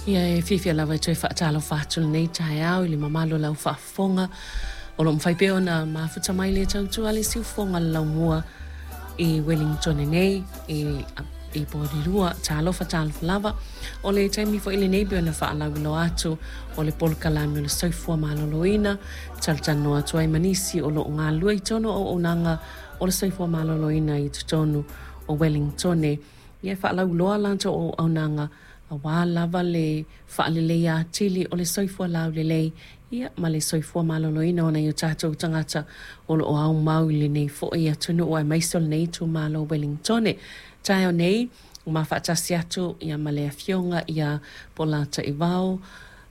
Ia e fiafia lava e toe faatalofa atu lenei taeao i le mamalu o lau faafofoga o lo o mafai pea ona mafuta mai le tautua a le siufofoga le laumua i Wellington nei i Porirua. Talofa, talofa lava. O le taimi foi lenei pei ona faalauiloa atu o le polokalame o le soifua maloloina talatalanoa atu ai ma nisi o lo o galulue i totonu o auaunaga o le soifua maloloina i totonu o Wellington. Ia e faalauiloa latou auaunaga aua lava le faaleleia atili o le soifua laulelei ia ma le soifua maloloina o nai o tatou tagata o lo o aumau i lenei foi atunuu aemaise o lenei itumalo o Wellington. Taeao nei, ua ma faatasi atu ia ma le afioga ia Polataivao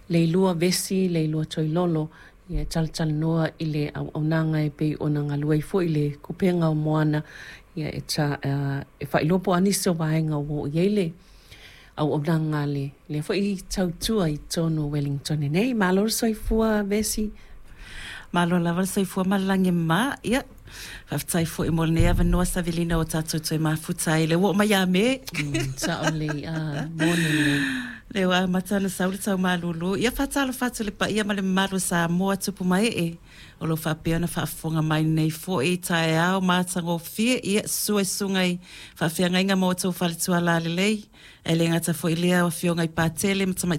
Leilua Vesi Leilua Toilolo ia e talatalanoa i le auaunaga e pei ona galue ai foi le kupega o Moana ia e, ta, e faailoa po o a nisi o vaega ua oo i ai le auaunaga a le lea foi tautua i totonu o Wellington nei. Malo le soifua Vesi. Malo lava le soifua ma le lagi e mama. Ia, faafetai foi mo lenei avanoa Savelina ua tatou toe mafuta ai. Lea ua oo mai ia Me. Sao lelei, a, moni lelei. Lea ua amata ona sau le tau malūlū. Ia, faatalofa atu i le paia ma le mamalu o Samoa, tupu ma ee, o lo o faapea ona faafofoga mai lenei foi taeao matagofie. Ia, susu e susuga i faafeagaiga ma outou faletua lalelei, ae le gata foi i lea o afioga i Patele ma Tamaitai.